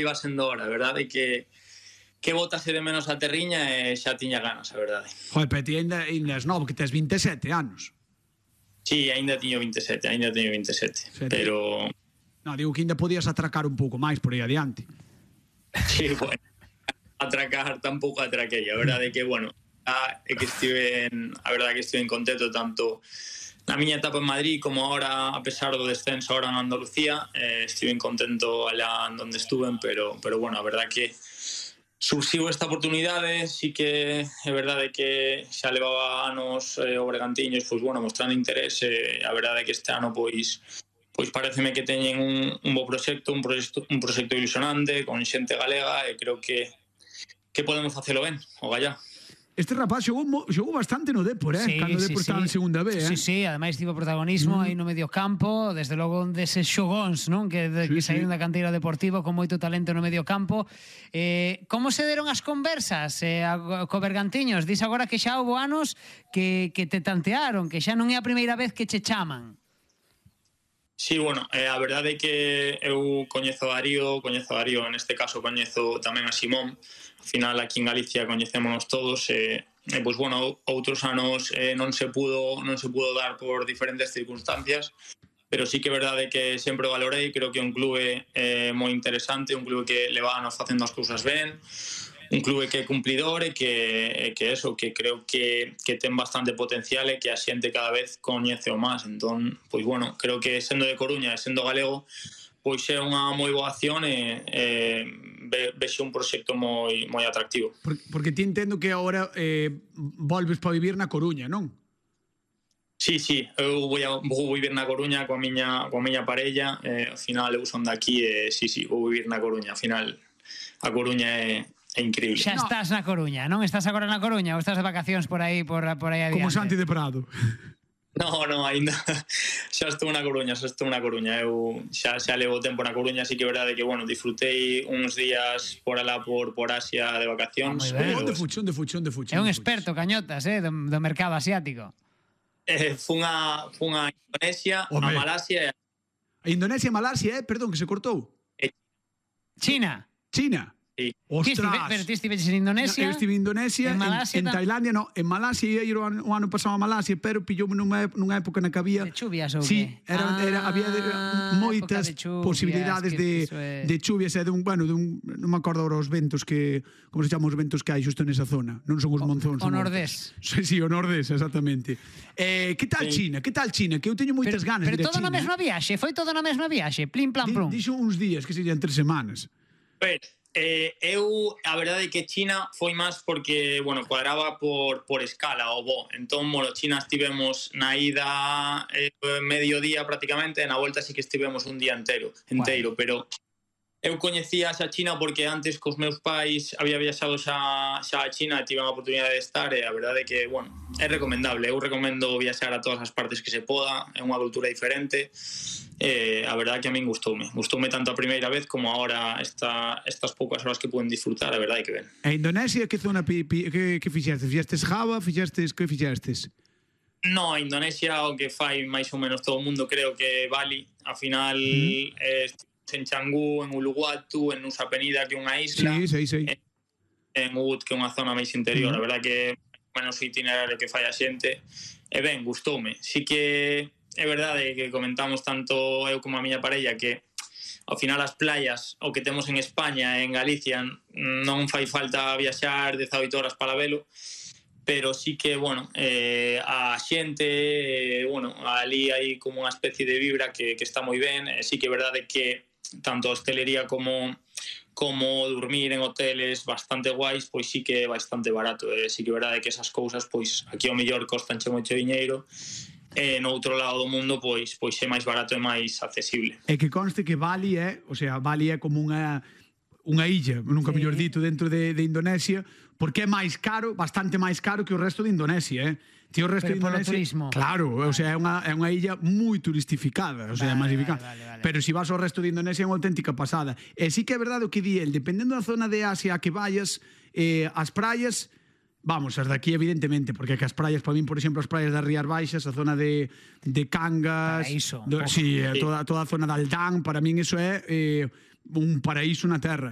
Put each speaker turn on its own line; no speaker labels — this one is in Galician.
iba sendo hora, a verdade que botase de menos a terriña e xa tiña ganas, a verdade.
Joder, pero ti ainda és novo, que tes 27 anos.
Sí, ainda tiño 27, pero...
No, digo que ainda podías atracar un pouco máis por aí adiante.
Sí, bueno, atracar tampouco atraquei, a verdade que, bueno, a verdade que estive contento tanto na miña etapa en Madrid como ahora, a pesar do descenso ahora en Andalucía, estive contento allá onde estuve, pero bueno, a verdade que surxiu esta oportunidade, sí que é verdade que xa levaba anos o Bergantiños, pois bueno, mostrando interés, a verdade que este ano pois pareceme que teñen un bo proxecto, un proxecto ilusionante, con xente galega, e creo que podemos facelo ben, o gallá.
Este rapaz xogou bastante no Depor, cando o Depor estaba en segunda B,
Sí, ademais tivo protagonismo aí no medio campo, desde logo deses xogóns, non? Que saíron da canteira deportiva con moito talento no medio campo. Como se deron as conversas co Bergantiños? Dis agora que xa houve anos que te tantearon, que xa non é a primeira vez que che chaman.
Sí, bueno, a verdade é que eu coñezo a Darío, neste caso coñezo tamén a Simón. Al final aquí en Galicia coñecémonos todos, pois bueno, outros anos non se pudo dar por diferentes circunstancias, pero sí que é verdade que sempre o valorei, creo que é un clube moi interesante, un clube que levános facendo as cousas ben, un clube que é cumplidor e que creo que ten bastante potencial e que a xente cada vez coñece o máis. Entón, pois bueno, creo que sendo de Coruña e sendo galego, pois é unha moi boa acción e vexo un proxecto moi atractivo.
Porque ti entendo que agora volves para vivir na Coruña, non?
Sí, eu vou vivir na Coruña coa miña parella, ao final eu son daqui e vou vivir na Coruña, ao final a Coruña é increíble.
Xa estás na Coruña, non? Estás agora na Coruña ou estás de vacacións por aí adiante?
Como Santi de Prado.
No, ainda xa estou na Coruña, eu xa levo tempo na Coruña, así que é verdade que, bueno, disfrutei uns días por alá por Asia de vacacións.
Onde fuche?
É un experto, Cañotas, do mercado asiático.
Fun a Indonesia, a Malasia.
A Indonesia e Malasia, perdón, que se cortou.
China.
Sí.
Ostras.
Pero ti estives en Indonesia?
Eu estive en Indonesia, en Tailandia, no, en Malasia, ia ir o ano pasado a Malasia, pero pilloume nunha época na que había...
De chuvias ou
sí,
que?
Había moitas posibilidades de chuvias e non me acordo agora os ventos que... Como se chama os ventos que hai xusto nesa zona? Non son os monzóns.
O nordés.
Sí, o nordés, exactamente. Que tal China? Que eu teño moitas ganas de ir a China.
Pero todo na mesma viaxe? Foi todo na mesma viaxe? Plim, plam, plum?
Dixo uns días, que serían 3 semanas.
A verdade é que China foi máis porque, bueno, cuadraba por escala o bo. Entón, bueno, China estivemos na ida mediodía prácticamente, e na volta sí que estivemos un día inteiro, pero eu coñecía xa China porque antes cos meus pais había viaxado xa a China e tive a oportunidade de estar, e a verdade é que, bueno, é recomendable. Eu recomendo viaxar a todas as partes que se poda, é unha cultura diferente. A verdade que a min gustoume tanto a primeira vez como ahora estas poucas horas que pueden disfrutar, a verdade que ben.
E Indonesia, que zona que fixestes? Fixestes Java? Que fixestes?
No, Indonesia o que fai máis ou menos todo o mundo creo que Bali, a final en Canggu, en Uluwatu, en Nusa Penida, que é unha isla, en Ubud, que é unha zona máis interior. A verdade que menos o itinerario que fai a xente, e ben, gustoume. Si que é verdade que comentamos tanto eu como a miña parella que ao final as playas, o que temos en España e en Galicia, non fai falta viaxar 18 horas para velo, pero sí que, bueno, a xente, bueno, ali hai como unha especie de vibra que está moi ben, e sí que é verdade que tanto a hostelería como dormir en hoteles bastante guais, pois sí que é bastante barato, sí que é verdade que esas cousas, pois aquí ao mellor costanche moito diñeiro, e no outro lado do mundo pois é máis barato e máis accesible.
E que conste que Bali é como unha illa, nunca mellor dito, dentro de Indonesia, porque é máis caro, bastante máis caro que o resto de Indonesia, Tío, o resto de Indonesia,
turismo.
Claro, o sea, é unha illa moi turistificada, o sea, masificada. Pero se vas ao resto de Indonesia é unha auténtica pasada. E sí que é verdade o que di el, dependendo da zona de Asia a que vayas, as praias, vamos, as daqui evidentemente, porque as praias, para min, por exemplo, as praias das Rías Baixas, a zona de Cangas,
paraíso,
toda a zona de Aldán, para min iso é un paraíso na terra.